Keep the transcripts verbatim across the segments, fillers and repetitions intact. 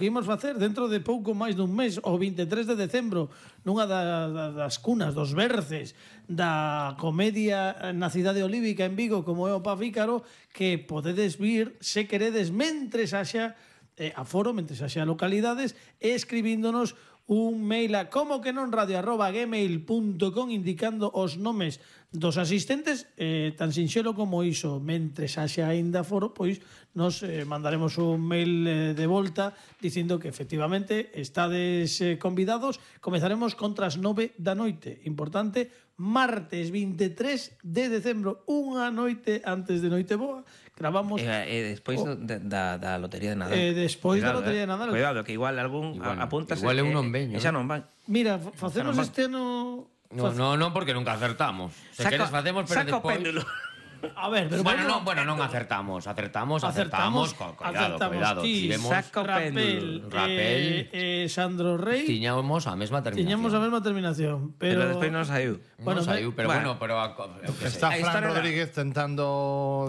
Vimos facer dentro de pouco máis dun mes, o vinte e tres de decembro, nunha da, da, das cunas, dos berces da comedia na cidade olívica en Vigo, como é o Pafícaro, que podedes vir, se queredes, mentres haxa eh, aforo, mentres haxa localidades, e escribíndonos un mail a como que non radio arroba gmail punto com indicando os nomes dos asistentes, eh, tan sinxelo como iso. Mentres haxa aínda foro, pois nos eh, mandaremos un mail eh, de volta dicindo que efectivamente estades eh, convidados. Comezaremos contra as nove da noite. Importante, martes vinte e tres de decembro, unha noite antes de Noiteboa. Gravamos... E, e despois oh, da, da, da Lotería de Nadal. E despois Cuidado, da Lotería eh. de Nadal. Cuidado, que igual algún igual, apuntas... Igual é un non eh, veño. E xa non van. Mira, facemos van. este ano... No, no, non, porque nunca acertamos. Se Saco- queres facemos, pero saco despois... péndulo. A ver, pero Bueno, bueno, non, bueno, non acertamos, acertamos, acertamos, acertamos, co- cuidado, acertamos cuidado. ti, Tivemos, saco Rapel, péndulo. Rapel. eh, eh, Sandro Rey, tiñamos a mesma terminación. tiñamos a mesma terminación, pero, Pero despois non saiu. Bueno, Bueno, saiu, pero bueno. bueno, pero a, eu que sei. Está A Fran historia da- Rodríguez tentando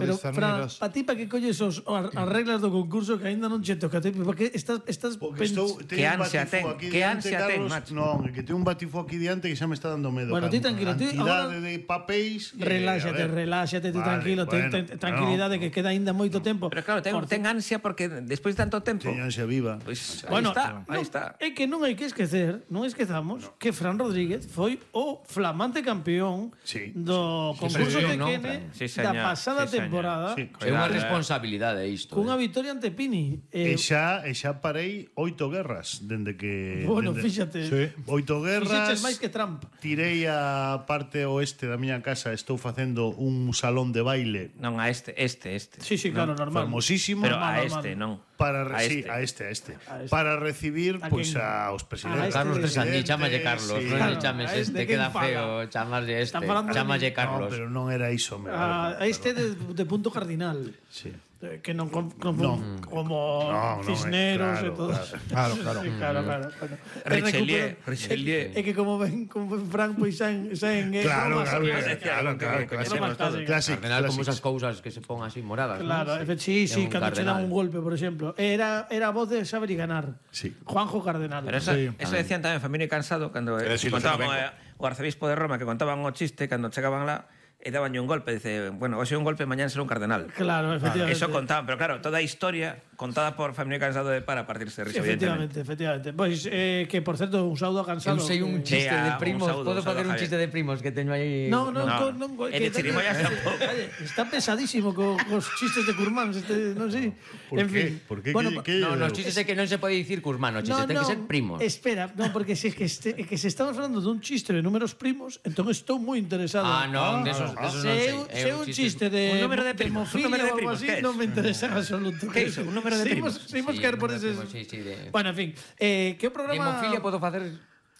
pero discernir Fran, os... pa ti pa que colles os, as as reglas do concurso que aínda non che toca, te- porque estás estás Porque estou, pens- Que teño un ansia batifo ten, aquí que diante, ansia ten, Carlos. macho. Non, é que ten un batifo aquí diante que xa me está dando medo. Bueno, Ca- ti tranquilo, ti cantidade agora- de papéis. que, reláxate, a ver. reláxate, tú Vale, tranquilo, ten, bueno, ten, tranquilidade no. que queda aínda moito tempo. Pero claro, ten, Por ten ansia porque despois de tanto tempo... Teño ansia viva. Pois aí Bueno, está, aí non, está. é que non hai que esquecer, non esquezamos que Fran Rodríguez foi o flamante campeón Sí. do concurso sí, de non, Kene Sí, da señor, pasada sí, señor. temporada, Sí. É unha Cuidado, eh. responsabilidade isto. cunha eh. victoria ante Pini. E Eh, xa, e xa parei oito guerras dende que... bueno, dende, fíxate, Sí. Oito guerras. fixeches máis que Trump. Tirei a parte oeste da miña casa, estou facendo un salón de baile Non, a este, este, este. Sí, sí, claro, normal. famosísimo. Pero a normal, este, normal. non. Para, re- a sí, este. a este, a este. A este. Para recibir ¿A pois quién? aos A presidentes. este Carlos de Sandí, presidentes, chámalle Carlos, sí. non Claro, lle chames a este este, quen queda fala? feo, chamaslle este, Está falando de chámalle mí. Carlos. No, pero non era iso, me Ah, vale, este de, de punto cardinal. Sí. Eh, Que non com, com, No. como No, no, Cisneros eh, e claro, todo. Claro, claro. Sí, claro, claro. Bueno, Richelieu, recupera- Richelieu. É que como ven, como ven Frank, pois saen, saen eh, Claro, bromas, claro, eh, claro, claro, que claro. coñecemos todos. Classic, Cardenal como classic. esas cousas que se pon así moradas, Claro, ¿no? efe- sí, sí, É un cando che dan cardenal. un golpe, por exemplo. Era, era a voz de Saber y Ganar. Sí. Juanjo Cardenal. Pero eso, Sí, eso decían tamén Famino y Cansado cando eh, sí, lo contaban sé, o, o arzobispo de Roma que contaban o chiste cando chegaban lá e daban un golpe, dice, bueno, hoxe un golpe, mañán será un cardenal. Claro, efectivamente. Eso contaban, pero claro, toda a historia contada por Famino y Cansado de para partirse de risa, Efectivamente, efectivamente. Pois, eh, que por certo, un saúdo a Cansado. Eu sei un que- chiste Sí, de a- un primos, saúdo, podo un saúdo, facer un Javier. chiste de primos que teño aí. No, no, No. no, no, E de chirimoyas tampouco. Está pesadísimo co, cos chistes de Curmán, este, non sei. Por en qué? fin. Por qué? Bueno, Que- que- No, nos chistes é que non se pode dicir cusmano, chistes ten que ser primos. Espera, no, porque se, que, este, que se estamos falando dun chiste de números primos, entón estou moi interesado. Ah, non, desos, desos Se non é sei. un- É se é un chiste de, Un número de primos, un hemofilia número de ou algo primos, así, ¿qué es? non me interesa en absoluto. ¿Qué é iso? Un número de Seguimos- primos? Seguimos Sí, caer por un eses... número de primos, sí, sí, de- Bueno, en fin, eh, que o De programa... hemofilia podo facer.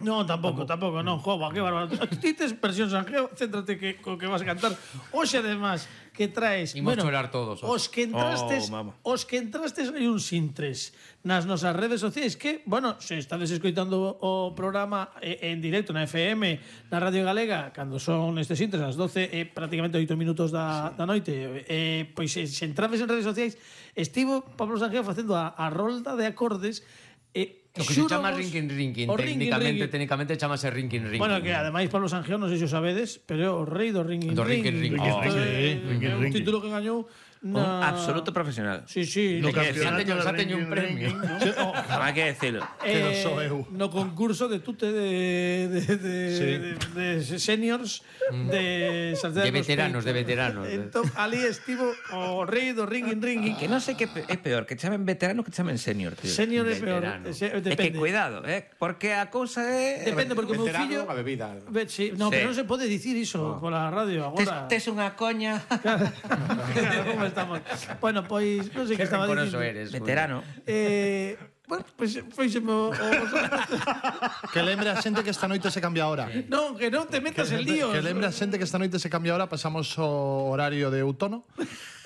No, tampouco, tampouco, non, jova, que bárbaro. Ti tes versión Sanjeo, céntrate que co que vas a cantar. Hoxe además que traes, Imos bueno, chorar todos, hoxe. Os que entrastes, Oh, vamos. os que entrastes hai un sintres nas nosas redes sociais que, bueno, se estades escoitando o programa eh, en directo na F M, na Radio Galega, cando son estes sintres as doce e eh, prácticamente oito minutos da, da noite, eh, pois se, se entrades en redes sociais, estivo Pablo Sanjeo facendo a, a rolda de acordes e O que se chama xúrovos- rinkin rinkin, o rinkin, técnicamente, rinkin. técnicamente chamase rinkin rinkin. Bueno, que ademais Pablo Sanjeo, non sei se o sabedes, pero é o rei do ringing Do ringing ring. Isto Oh, é- ringing, é un ringing. título que gañou Un na... absoluto profesional. Sí, sí. No no, que campeonato xa teño- de xa teño un ranking, premio. ranking, ¿no? Non hai que decirlo. Que non sou eu. No concurso de tute de de de, Sí. de, de seniors de Santiago De veteranos, Peito. de veteranos. Entón, ali estivo o rei do ringing ringing. Que non sei que é peor, que chamen veterano que chamen senior, tío. Senior é peor, Veterano. ese- É que depende. cuidado, eh, porque a cousa é Depende, porque o meu Veterano, fillo... a bebida. Ve- sí, no, Sí. pero non se pode dicir iso pola radio tes, agora. tes unha coña. Claro, como estamos. Bueno, pois, non sei que Que estaba rencoroso dicindo. eres. Veterano. Eh, bueno, pois foiseme o, o Que lembre a xente que esta noite se cambia a hora. Non, que non te metas en líos. Que lembre a xente que esta noite se cambia a hora, pasamos o horario de outono.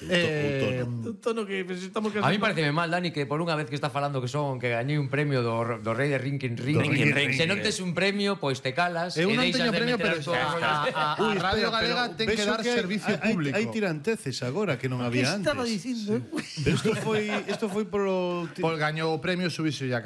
Eh, Un tono que pues, estamos A mí pareceme mal, Dani, que por unha vez que está falando que son que gañei un premio do, do rei de Rinkin Ring. Rinkin Ring. Se non tes un premio, pois te calas Eu e non deixas teño de premio, meter pero as túas a, rollas. a, a Radio Galega ten que vexo dar hai- servicio hai- público. Hai tiranteces agora que non ¿Qué había antes. estaba diciendo? Pero isto foi, isto foi polo... Pol gañou o premio Subixo